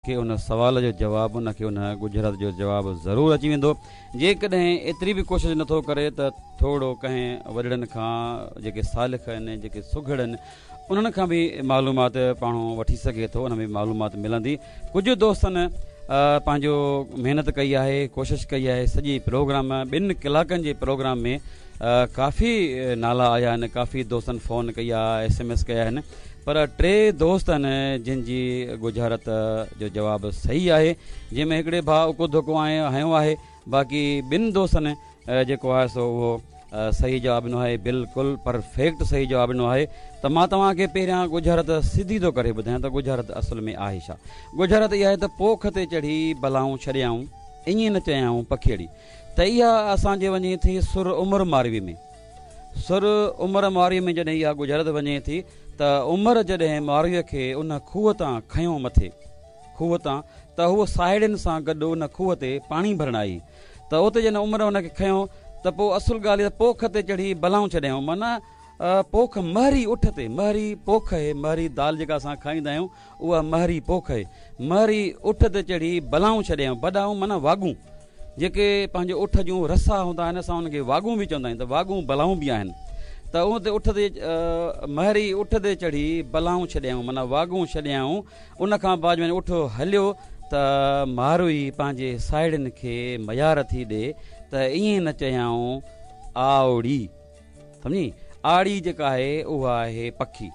کي ان سوال جو جواب ان کي ان ڳجهارت جو جواب ضرور اچي ويندو. جيڪڏهن ايتري به ڪوشش نٿو ڪري ته ٿورو ڪنهن وڏڙن کان جيڪي سالڪ آهن جيڪي سگهڙ آهن انهن کان به معلومات پاڻو وٺي سگهي ٿو ان ۾ معلومات ملندي. ڪجهه دوستن پنهنجو محنت ڪئي آهي ڪوشش ڪئي آهي سڄي پروگرام ٻن ڪلاڪن جي پروگرام ۾ ڪافي نالا آيا آهن ڪافي دوستن فون ڪئي آهي ايس ايم ايس ڪيا آهن پر ٽي دوست آهن جن جي ڳجهارت جو جواب صحيح آهي جنهن ۾ هڪڙي ڀاء اڪو ڌڪو هنيو آهي باقي ٻن دوستن جيڪو آهي سو اهو صحيح جواب ڏنو آهي بلڪل پرفيڪٽ صحيح جواب ڏنو آهي ته مان توهان کي پهريان ڳجهارت سڌي ٿو ڪري ٻڌايان ته ڳجهارت اصل ۾ آهي ڇا ڳجهارت اها آهي ته پوک تي چڙهي بلائون ڇڏيائون ائين نه چيائون پکيئڙي ته اها اسان جي وڃي ٿي سر عمر ماروي ۾ سر عمر مارويء ۾ جڏهن اها ڳجهارت وڃي ٿي ته عمر جڏهن مارويء کي ان کوهه تان کنيو مٿي کوهه تان ته هوء ساهيڙين سان گڏ ان کوهه تي پاڻي ڀرڻ آئي ته اتي جڏهن عمر هن کي کنيو ته پوء اصل ڳالهه اها پوک تي چڙهي بلائون ڇڏيائون معنيٰ پوک مهري اٺ تي مهري پوک اهي مهري دال جيڪا اسان کائيندا آهيون اها مهري پوک اهي. مهري اٺ تي چڙهي بلائون ڇڏيائون. بلائون معنيٰ واڳون. جيڪي پنهنجي اٺ جون رسا هوندا آهن اسان انهن کي واڳون به چوندا آهيون ته واڳون بلائون به آهن ته ان تي اٺ تي مهري اٺ تي چڙهي بلائون ڇڏيائون معنيٰ واڳون ڇڏيائون ان کان بعد ۾ اٺ هليو ته ماروئي پنهنجي ساهيڙين کي ميار ٿي ڏي ته ائين نه چيائون آوڙي. سمجهين؟ آڙي جيڪا آهي اها آهي پکي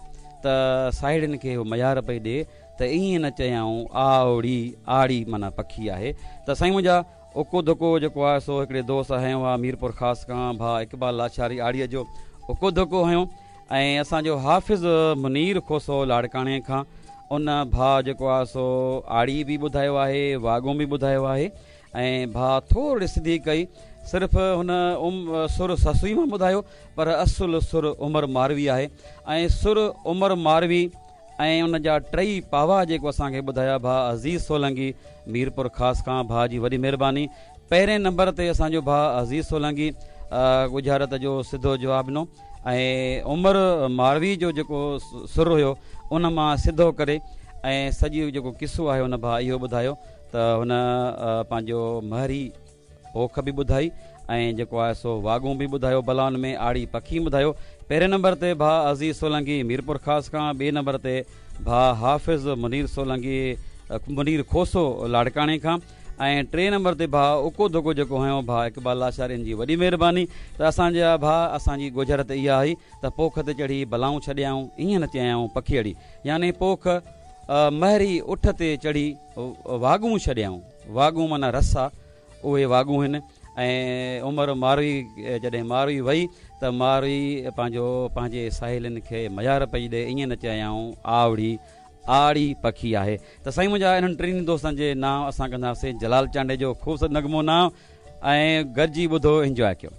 ته ساهيڙين کي هو ميار پئي ڏي ته ائين نه چيائون آوڙي، آڙي معنيٰ پکي آهي ته سائين منهنجا اڪو ڌڪو جيڪو آهي سو هڪڙي دوست هنيو آهي ميرپور خاص کان ڀاء اقبال لاشاري آڙيء جو اڪو ڌڪو هنيو ۽ اسان جو حافظ منير کوسو لاڙڪاڻي کان ان ڀاء جيڪو آهي سو آڙي به ٻڌايو آهي واڳون به ٻڌايو آهي ۽ ڀاء ٿورڙي سڌي ڪئي. صرف هن ام سر سسئي مان ٻڌايو پر اصل سر عمر ماروي آهي ۽ سر عمر ماروي ۽ ان جا ٽئي پاوا جيڪو اسان کي ٻڌايا ڀاء عزيز سولنگي ميرپور خاص کان ڀاء جي وڏي مهرباني پهرين نمبر تي اسان جو ڀاء عزيز سولنگي ڳجهارت جو سڌو جواب ڏنو ۽ عمر ماروي جو جيڪو سر هيو ان مان سڌو ڪري ۽ سڄي جيڪو قصو آهي ان ڀاء اهو ٻڌايو ته هن پنهنجو مهري پوک به ٻڌائي ۽ جيڪو آهي سو واڳون به ٻڌايو بلائن ۾ آڙي پکي ٻڌايو. پهرين نمبر تي ڀاء عزيز سولنگي ميرپورخاص کان، ٻئي نمبر تي ڀاء حافظ منير سولنگي منير کوسو لاڙڪاڻي کان ۽ ٽئين نمبر تي ڀاء اڪو ڌڪو جيڪو هنيو ڀاء اقبال لاشاري ان جي وڏي مهرباني ته اسان جا ڀاء اسان جي ڳجهارت اها هئي ته پوک تي چڙهي بلائون ڇڏيائون ائين نه چيائون پکيئڙي يعني پوک مهري اٺ تي چڙهي واڳون ڇڏيائون. واڳون معنيٰ رسا، اهي واڳون هن ۽ عمر ماروي جڏهن ماروي وئي ته ماروي پنهنجو پنهنجي ساهيلين کي ميار پئي ڏي ائين نه چيائون آوڙي آڙي پکي آهي ته سائين منهنجا انهن ٽنهي دوستن جي نانء اسان ڪنداسين جلال چانڊيي جو خوبصورت نغمو نانء ۽ گڏجي ٻڌو انجواء ڪيو.